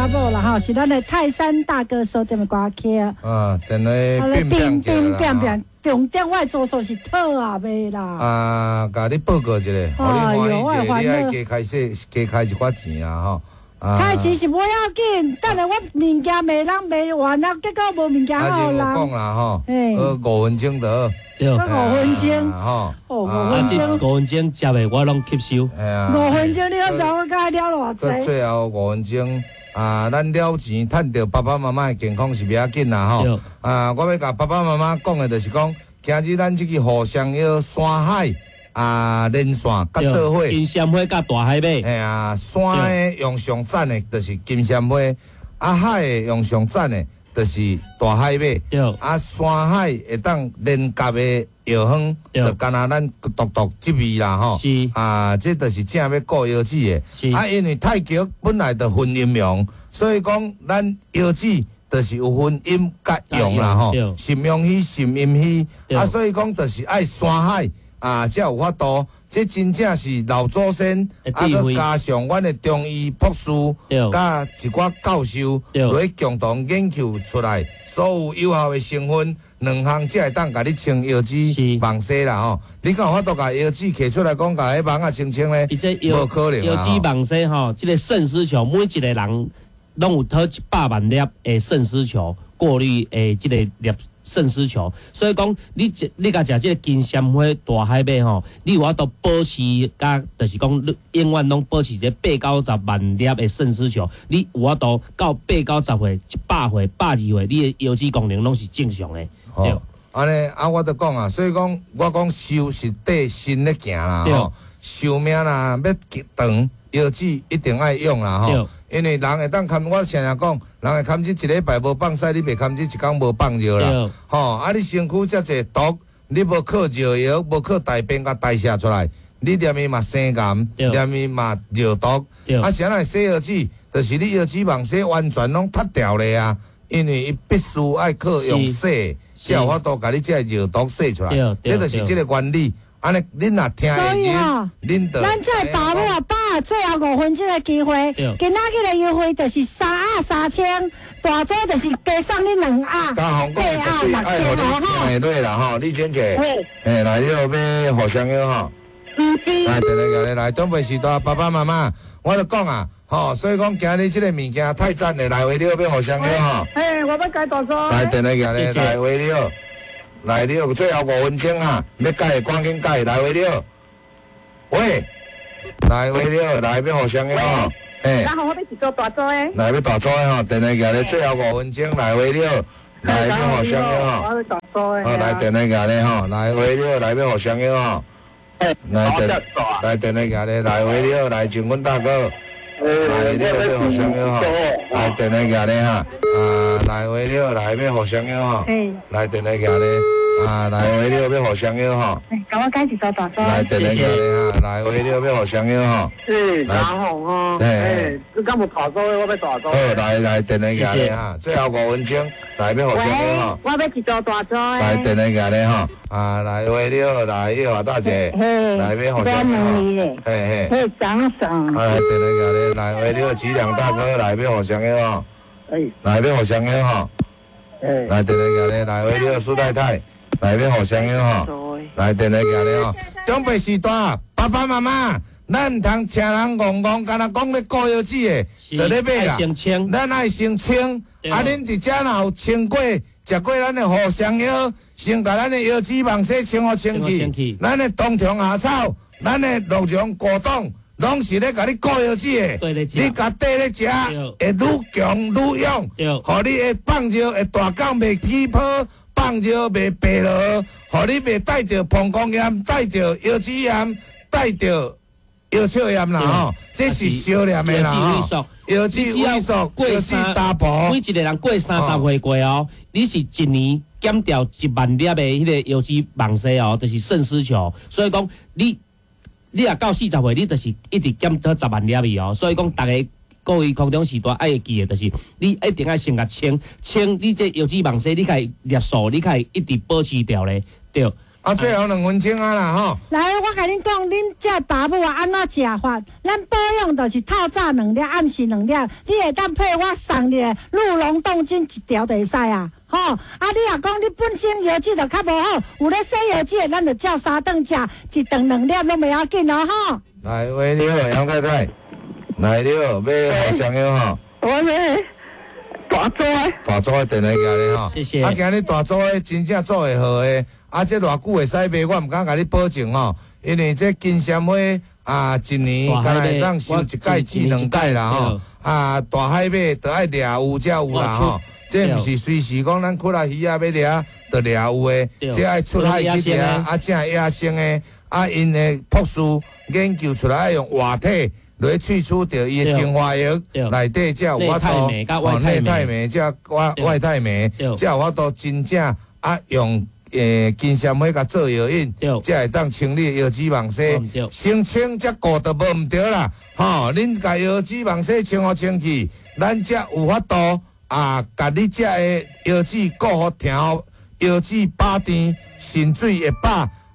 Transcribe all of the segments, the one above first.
查某啦吼，是咱的泰山大哥所點的歌曲。啊，電話變變變變變，重點我的主數是討啊賣啦。啊，共你報告一下，予你歡喜一下，你愛加開些，加開一寡錢啊吼。開錢是無要緊，等下我物件賣人賣完啊，結果無物件予人。啊，講啦吼，5分鐘就好。對，五分鐘。吼，哦，五分鐘。五分鐘食的我攏吸收。五分鐘你攏知我該了偌濟？最後五分鐘啊，咱了錢趁著爸爸媽媽的健康是袂要緊啦吼。啊，我欲共爸爸媽媽講的就是講，今日咱這個互相藥山海啊，連線佮做伙。金萱花佮大海馬。嘿啊，山的用上讚的，就是金萱花；啊，海的用上讚的，就是大海馬。啊，山海會當連結的藥方，就干焦咱獨獨這味啦吼。啊，這就是正欲顧腰子的。啊，因為太極本來就分陰陽，所以講咱腰子就是有分陰佮陽啦吼。腎陽虛、腎陰虛。啊，所以講就是愛山海。啊，才有法度，這真正是老祖先，啊，閣加上阮的中醫博士，佮一寡教授，來共同研究出來，所有有效的成分，兩項才會當共你清腰子網紗啦吼。你敢有法度共腰子摕出來講，共彼網仔清清咧？無可能。腰子網紗吼，這個腎絲球，每一個人攏有討100萬粒的腎絲球過濾的這個粒。腎絲球，所以講你食你共食這個金萱花大海馬吼，你有法度保持佮，就是講你永遠攏保持這八九十萬粒的腎絲球，你有法度到八九十歲、100歲、120歲，你的腰子功能攏是正常的。對，按呢啊，我就講啊，所以講我講壽是綴身咧行啦吼，壽命啦欲長，腰子一定愛用啦吼。因為人會當堪，我常常講，人會堪這一禮拜無放屎，你袂堪這一工無放尿啦。吼，啊，你身軀遮濟毒，你無靠尿液，無靠大便共代謝出來，你連伊嘛生癌，連伊嘛尿毒。啊，啥來洗腰子？就是你腰子網洗完全攏脫掉咧啊！因為伊必須愛靠用洗，才有法度共你這個尿毒洗出來。這就是這個原理。按呢，恁若聽會入，恁就。咱這爸母啊爸，最後五分鐘的機會，今仔日的優惠就是三盒三千，大組就是加送你兩盒，八盒6000哦吼。對啦吼，李姐姐，嘿，來，你有欲互相藥吼？來，來，來，來，長輩時代爸爸媽媽，我就講啊，吼，所以講今日這個物件太讚了，來，為了欲互相藥吼。嘿，我欲改大組。來，電話來，來，為了。來，你有最後五分鐘啊！欲改趕緊改，來，喂你好。喂，來喂你好，來欲互相的吼。嘿。然後我欲一組大組的。來欲大組的吼，電話寄咧，最後五分鐘，來喂你好，來欲互相的吼。我欲大組的。好，來電話寄咧吼，來喂你好，來欲互相的吼。來電，來電話寄咧，來喂你好，來靜阮大哥。來，你好，欲互相的吼。來電話寄咧哈，啊，來喂你好，來欲互相的吼。來電話寄咧。啊，來喂你好，欲互相藥吼。共我改一組大組。來，電話寄咧哈，來喂你好，欲互相藥吼。是，阿紅哦。嘿，你敢有大組的？我欲大組。好，來來，電話寄咧哈，最後五分鐘，來欲互相藥吼。我欲一組大組的。來，電話寄咧吼，啊，來喂你好，來葉華大姐，來欲互相藥吼。嘿嘿。嘿，長長。來，電話寄咧，來喂你好，吉良大哥，來欲互相藥吼。來欲互相藥吼。來，電話寄咧，來喂你好，蘇太太。來欲互相藥吼，來電話寄咧吼。長輩時代，爸爸媽媽，咱毋通請人戇戇，干焦講咧顧腰子的，就咧買啦。咱愛先清，啊，恁佇遮若有清過，食過咱的互相藥，先共咱的腰子網洗清予清氣。咱的冬蟲夏草，咱的鹿茸果凍，攏是咧共你顧腰子的。你共綴咧食，會愈強愈勇，予你會放尿會大工袂起泡。放尿袂白落，予你袂帶著膀胱炎、帶著腰子炎、帶著腰鞘炎啦吼，這是相連的啦吼。腰子萎縮，腰子打薄。每一個人過30歲過哦，你是一年減掉1萬粒的彼個腰子網紗哦，就是腎絲球。所以講，你若到40歲，你就是一直減做10萬粒去哦。所以講，逐家。各位空中時代愛會記的，就是你一定愛先共清清，你這腰子網紗，你較會粒數，你較會一直保持著咧，對。啊，最後2分鐘啊啦吼。來，我共恁講，恁這爸母啊，按怎食法？咱保養就是透早兩粒，暗時兩粒。你會當配我送你的鹿茸凍精一條就會使啊。吼，啊！你若講你本身腰子就較無好，有咧洗腰子的，咱就照三頓食，一頓兩粒攏袂要緊哦，吼。來，喂，你好，楊太太。來，你好，欲予雙藥吼。我欲大組的。大組的電話寄咧吼。謝謝。啊，今日大組的真正做會好的，啊，這偌久會使賣，我毋敢共你保證吼，因為這金鮮花啊，一年敢若會當收一擺至兩擺啦吼。啊，大海馬都愛掠有才有啦吼。這毋是隨時講咱窟啊魚仔欲掠就掠有的，這愛出海去掠，啊，正野生的，啊，𪜶的博士研究出來愛用活體來萃取著伊的精華液，內底才有法度，哦，內肽酶才外外肽酶，才有法度真正啊用金鮮花共做藥引，才會當清理腰子網紗，先清才顧就無毋對啦，吼，恁共腰子網紗清予清氣，咱才有法度。啊，共你遮的腰子顧予疼，腰子飽甜，腎水會飽。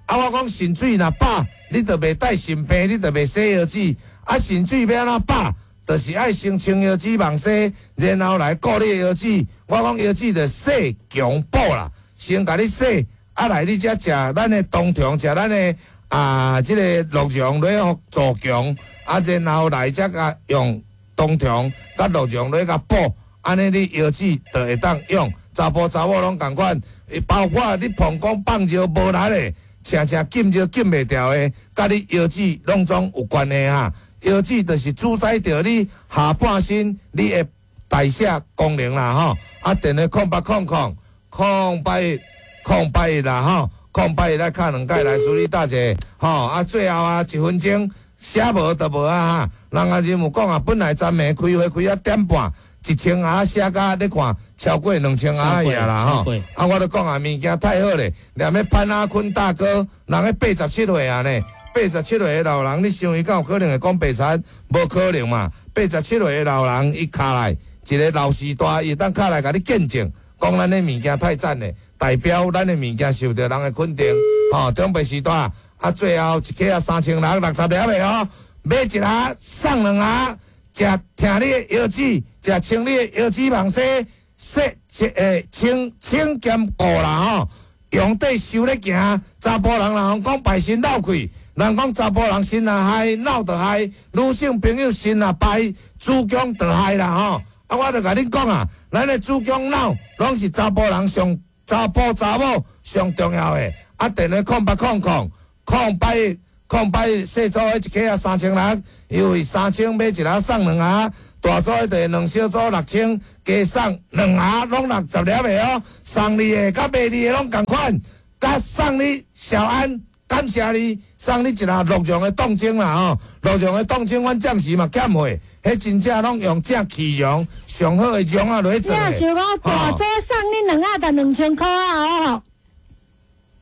啊，我講腎水若飽，你就袂帶腎病，你就袂洗腰子。啊，腎水欲按怎飽，就是愛先清腰子網紗，然後來顧你的腰子。我講腰子就洗強補啦，先共你洗，啊來你才食咱的冬蟲，食咱的啊這个鹿茸來予助強，啊然後來才共用冬蟲佮鹿茸來共補。按呢，你腰子就會當用，查埔查某攏仝款，包括你膀胱放尿無力的，常常禁尿禁袂牢的，佮你腰子攏總有關係哈。腰子就是主宰著你下半身你的代謝功能啦吼。啊，電話0800 081 081啦吼，081來敲兩擺來處理大姐吼。啊，最後啊，1分鐘寫無就無啊哈。人阿任有講啊，本來昨暝開會開到點半。1000盒寫甲你看超過2000盒爾啦吼，啊，我著講啊，物件太好咧，連彼潘阿坤大哥，人彼87歲啊呢，87歲的老人，你想伊敢有可能會講白賊？無可能嘛！87歲的老人，伊敲來一个老時代，伊會當敲來共你見證，講咱的物件太讚咧，代表咱的物件受著人的肯定，吼，長輩時代，啊，最後一克啊3660粒的哦，買一盒送兩盒。食疼你的腰子，食清你的腰子網紗，洗清清清兼顧啦吼，用底收咧行，查埔人若講排身漏氣，人講查埔人身若害，腦就害，女性朋友身若排，子宮就害啦吼。啊，我就共恁講啊，咱的子宮腦攏是查埔人上查埔查某上重要的。啊，電話0800 081。081細組的一克啊3600，優惠3000買一盒送兩盒，大組的就兩小組6000，加送兩盒攏60粒的哦。送你的佮賣你的攏仝款，佮送你小安，感謝你送你一盒鹿茸的凍精啦吼，鹿茸的凍精，阮暫時嘛欠貨，彼真正攏用正氣茸上好的茸仔來做的。你若想講大組送你兩盒就2000箍啊哦。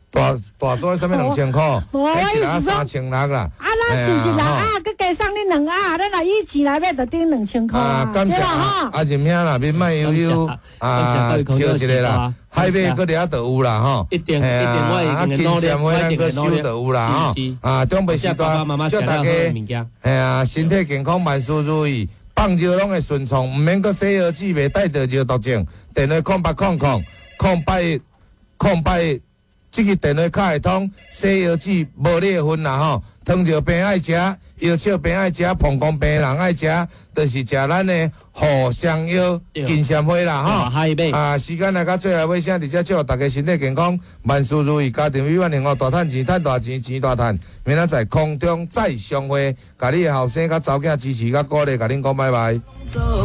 大大組啥物2000箍？無，我一盒3600啦。啊，咱是毋是六盒？閣加送你兩盒，咱若以錢來買，就等於2000箍啊。感謝啊，阿任兄啦，免莫悠悠啊，笑一个啦。海馬閣掠就有啦吼。一定一定，我啊，金鮮花咱閣收就有啦吼。啊，長輩時代祝大家，嘿啊，身體健康，萬事如意，放尿攏會順暢，毋免閣洗腰子，袂帶著尿毒症。電話0800 081 081。這个電話卡會通，洗腰子無你的份啦吼。糖尿病愛食，腰笑病愛食，膀胱病人愛食，就是食咱的護雙腰金鮮花啦吼。啊，時間來到最後尾聲，佇遮祝大家身體健康，萬事如意，家庭美滿幸福，大趁錢，趁大錢，錢大趁。明仔載空中再相會，共你的後生佮查某囝支持佮鼓勵，共恁講拜拜。